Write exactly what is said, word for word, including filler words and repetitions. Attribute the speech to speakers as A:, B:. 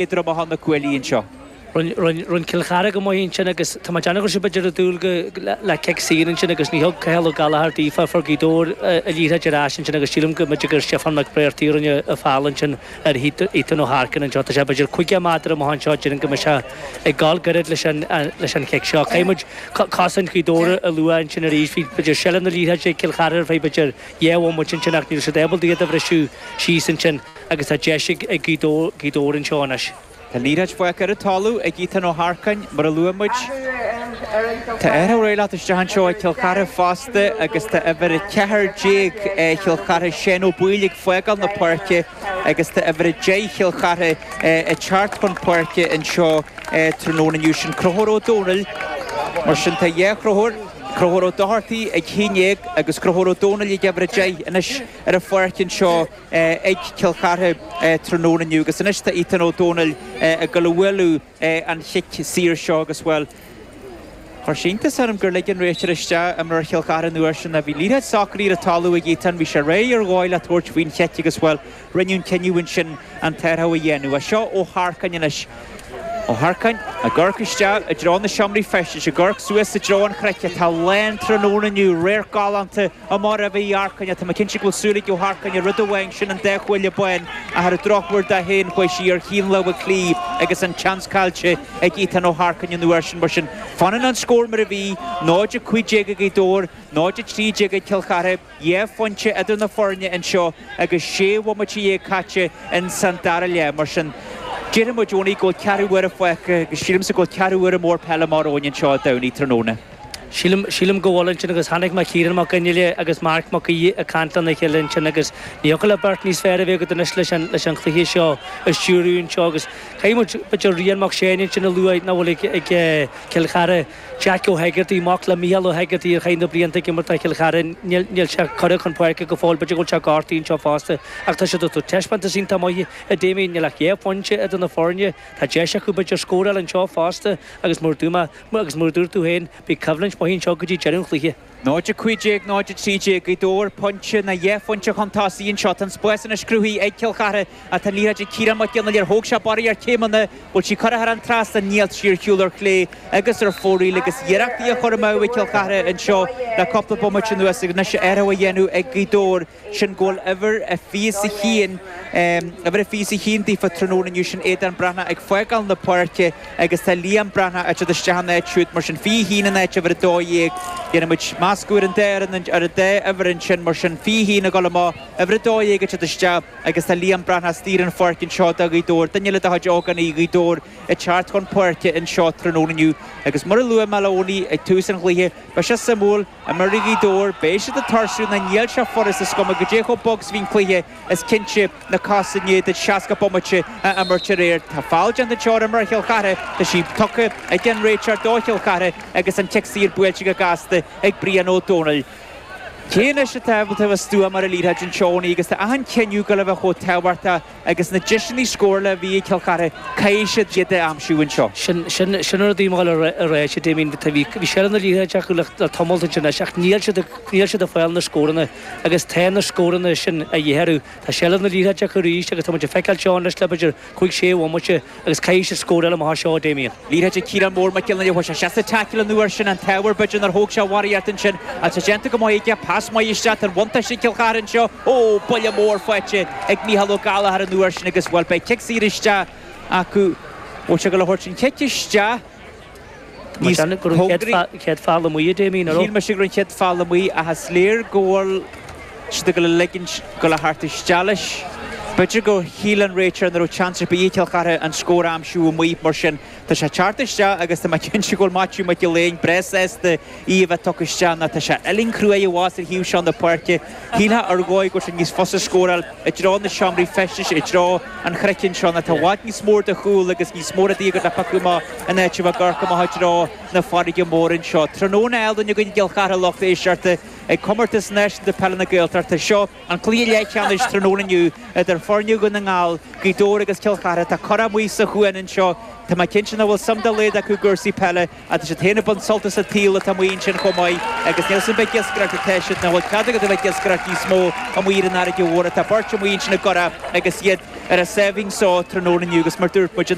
A: Éadrom atá na cuaillí anseo.
B: Rinne Cill Chartha go maith ansin agus tá mé ag déanamh go raibh siad b'fhéidir ag dúil le cic saor ansin agus ní thug Cathal Ó Gallchóir daofa, fuair Gaoth Dobhair an liathróid ar ais ansin agus sílim go mb'fhéidir gur Stiofán Mac Bréartaigh a rinne an feall ansin ar Ethan Ó hEarcáin anseo. Tá sé b'fhéidir caoga méadar amach anseo, déarfainn go mbeidh sé ag gabháil gairid leis an leis an chic seo. Caithfidh muid cosaint Ghaoth Dobhair a lua ansin arís. Bhí b'fhéidir seilbh na liathróide ag Cill Chartha ar feadh b'fhéidir dhá bhomaite ansin ach ní raibh siad ábalta iad a bhriseadh síos ansin agus tá deis ag Gaoth Dobhair anseo anois.
A: Tá an liathróid fágtha ar an talamh ag Ethan Ó hEarcáin, mar a luaigh muid. Tá athrú ag teacht isteach anseo ag Cill Chartha fosta agus tá uimhir a ceathair déag Chill Chartha, Shane Ó Baoill ag fágáil na páirce agus tá uimhir a deich Chill Chartha ag teacht chun páirce anseo tráthnóna inniu. Sin Conchúr Ó Domhnaill. Mar sin tá dhá Chonchúr, Conchúr Ó Dochartaigh ag haon déag agus Conchúr Ó Domhnaill ag uimhir a deich anois ar an pháirc anseo. ag Cill Chartha tráthnóna inniu agus anois tá Ethan Ó Dónaill ag dul a bhualadh an chic saor seo agus, bhuel, chuir sé iontas orm gur lig an réiteoir isteach imreoir Chill Chartha an uair sin. Bhí liathróid socraithe ar an talamh ag Ethan, bhí sé réidh ar dhóigh le tabhairt faoin chic agus, bhuel, rinneadh an cinneadh ansin an t-athrú a dhéanamh. Seo Ó hEarcáin anois. Ó hEarcáin ag amharc isteach i dtreo na seomraí feistis, ag amharc suas i dtreo an chnoic atá lán tráthnóna inniu, radharc galánta amach roimh Uí Earcáin. Tá mé cinnte go bhfuil súil ag Ó hEarcáin ar rud amháin, sin an dá chuaille bán, ach ar an drochuair dó féin chuaigh sí ar thaobh na láimhe clí agus an tseans caillte ag Ethan Ó hEarcáin an uair sin. Mar sin, fanann an scór mar a bhí, náid a cúig déag ag Gaoth Dobhair, náid a trí déag ag Cill Chartha. Dhá phointe idir na foirne anseo agus sé bhomaite dhéag caite ins an dara leath. Mar sin, déarfaidh muid, Eoiní, go bhfuil ceathrú uaire fágtha agus sílimse go bhfuil ceathrú uaire mór peile amach romhainn anseo Dé Domhnaigh tráthnóna.
B: Sílim, sílim go bhfuil ansin agus chonaic mé Ciarán Mac Fhionnghaile agus Marc Mac Aoidh ag caint lena chéile ansin agus ní thiocfadh le beirt níos fearr a bheith agat anois leis an, leis an chluiche seo a stiúradh anseo agus caithfidh muid, b'fhéidir Rian Mac Seáin ansin a lua nach bhfuil ag, ag Cill Chartha. Jack Ó hEigeartaigh, mac le Mícheál Ó hEigeartaigh a chaith na blianta ag imirt do Chill Chartha, níl, níl sé curtha chun páirce go fóill, b'fhéidir go bhfuil sé gortaithe anseo fosta ach tá siad ag tabhairt taispeántas iontach maith a Damien, níl ach dhá phointe idir na foirne, tá deis acu b'fhéidir scóráil anseo fosta agus mar dúirt mé, agus mar a dúirt tú féin, beidh coimhlint mhaith anseo go dtí deireadh an chluiche.
A: náid a cúig déag, náid a trí déag, Gaoth Dobhair, pointe nó dhá phointe chun tosaigh anseo. Tá an spás anois cruthaithe ag Cill Chartha ach tá an liathróid ag Ciarán Mac Fhionnghaile. Ar thóg sé barraíocht céimeanna? Bhfuil sí curtha thar an trasnán? Níl, sí ar shiúl ar chlé agus ar fóraoil agus iarrachtaí á chur amú ag Cill Chartha anseo le cúpla bomaite anuas agus anois athrú á dhéanamh ag Gaoth Dobhair. Sin go bhfuil uimhir a fiche is a haon, uimhir a fiche is a haon daofa tráthnóna inniu, sin Aodán Breathnach ag fágáil na páirce agus tá Liam Breathnach ag teacht isteach ina áit siúd, mar sin fiche a haon in áit uimhir a dó dhéag. Déanfaidh muid meascadh ar an dá fhoireann, ar an dá uimhir ansin, mar sin fiche a haon ag dul amach, uimhir a dó dhéag ag teacht isteach agus tá Liam Breathnach istigh ar an pháirc anseo do Ghaoth Dobhair, duine eile de chuid ógánaigh Ghaoth Dobhair ag teacht chun páirce anseo tráthnóna inniu agus mar a luaigh mé le Eoiní ag tús an chluiche, beidh sé suimiúil. Imreoirí Ghaoth Dobhair, beidh siad ag tuirsiú nó níl sé furasta is cuma goidé chomh bog is a bhí an cluiche, is cinnte na cosa i ndiaidh duit seasca bomaite a imirt aréir. Tá feall déanta anseo ar imreoir Chill Chartha, tá sí tugtha ag an réiteoir do Chill Chartha agus an cic saor buailte go gasta ag Brian Ó Dónaill. Cé anois atá ábalta a bheith stuama ar an liathróid anseo Eoiní agus tá achan cinneadh ag dul a bheith chomh tábhachtach agus na deiseanna scórála a bhí ag Cill Chartha, caithfidh siad iad a aimsiú anseo.
B: Sin, sin, sin an rud a bhí mé ag dul a rá, a Damien, bhí, bhí seilbh na liathróide acu le, le tamalt ansin anois ach níl siad, níl siad ag fáil na scóranna agus tá na scóranna sin a dhíth orthu. Tá seilbh na liathróide acu arís agus tá muid ag feiceáil seo anois le b'fhéidir cúig, sé bhomaite agus caithfidh siad scóráil amach as seo, a Damien.
A: Liathróid ag Ciarán Mór Mac Fhionnghaile, chuaigh sé isteach sa taicil an uair sin, an t-ádh air b'fhéidir nár thóg sé a bharraíocht ansin ach tá déanta go maith aige, pas maith isteach, tá an bhuntáiste ag Cill Chartha anseo. Ó, buille mór faighte ag Mícheál Ó Gallchóir an uair sin agus, bhuel, beidh cic saor isteach acu. Bhfuil sé ag dul a thabhairt an chic isteach níos cóngaraí?
B: Chéad feall amuigh, a Damien, an raibh?
A: Shíl mise go raibh an chéad feall amuigh ach is léir go bhfuil siad ag dul a ligint dul a theacht isteach leis. B'fhéidir gur shíl an réiteoir nach raibh seans ar bith ag Cill Chartha an scór a aimsiú amuigh mar sin. Tá sé ag teacht isteach agus tá mé cinnte go bhfuil Maitiú Mac Giolla Éin breá sásta í a bheith tugtha isteach nó tá sé uillinn chruaidh i bhfas ar thaobh seo na páirce. Shílfeá ar dhóigh go bhfuil sé níos fusa scóráil i dtreo na seomraí feistis, i dtreo an chnoic anseo nó tá i bhfad níos mór de chúl agus níos mó rudaí agat le piocadh amach in áit a bheith ag amharc amach i dtreo na farraige móire anseo. Tráthnóna álainn againn i gCill Chartha lucht éisteachta ag Comórtas Náisiúnta Peile na Gaeltachta. Seo An cluiche leathcheannais tráthnóna inniu idir foirne Dhún na nGall, Gaoth Dobhair agus Cill Chartha. Tá curach amuigh sa chuan anseo. Tá mé cinnte nach bhfuil suim dá laghad acu i gcúrsaí peile ach tá siad féin ag baint sult as an tsaol atá amuigh ansin chomh maith agus níl 's agam an ag iascaireacht atá siad nó an bhfuil cead agat a bheith ag iascaireacht níos mó amuigh ar an fharraige mhór. Tá beirt amuigh ansin i gcurach agus iad Ar a sáimhín só tráthnóna inniu agus mar dúirt muid